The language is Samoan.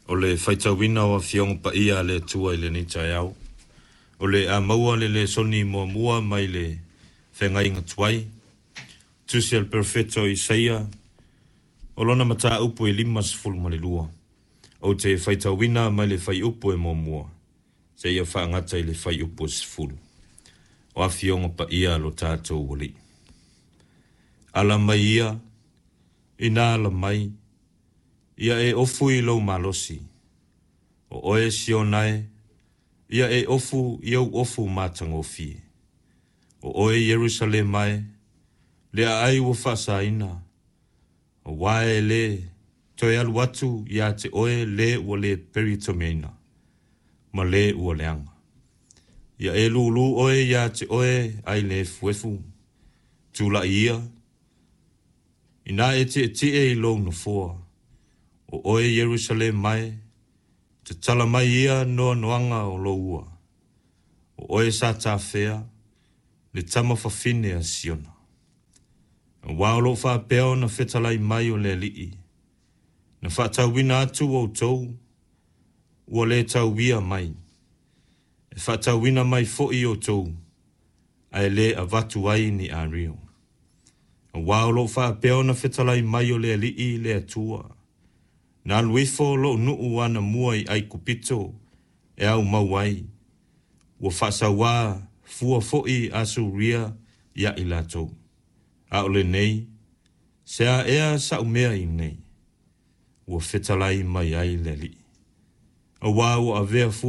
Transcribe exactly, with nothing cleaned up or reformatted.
O le faitauina o Afioga Paia a le Atua i lenei taeao, o le a maua le lesoni muamua mai le Feagaiga Tuai, Tusi a le Perofeta o Isaia, o lona mataupu e limasefulu ma le lua. Ou te faitauina mai le fuaiupu e muamua seia faagata i le fuaiupu e sefulu. O Afioga Paia a lo tatou Alii. Ala mai ia, ina ala mai, ia e ofu i lou malosi. O oe Siona e, ia e ofu i ou ofu matagofie. O oe Ierusalema e, le aai ua faasaina, aua e le toe alu atu ia te oe le ua le peritomeina, ma le ua leaga. Ia e lūlū oe ia te oe ai le efuefu, tulai ia, ina e tietie i lou nofoa, o oe Ierusalema e, tatala mai ia noanoaga o lou ua, o oe sa tafea, le tama fafine a Siona. Aua o loo faapea ona fetalai mai o le Alii, na faatauina atu outou, ua le tauia mai, e faatauina mai foi outou, ae le avatu ai ni ario. Aua o loo faapea ona fetalai mai o le Alii le Atua, na alu ifo lou nuu anamua i Aikupito e au mau ai, ua faasauā fua foi Asuria ia i latou. A o lenei, se a ea sau mea i nei, ua fetalai mai ai le Alii. Aua ua avea fua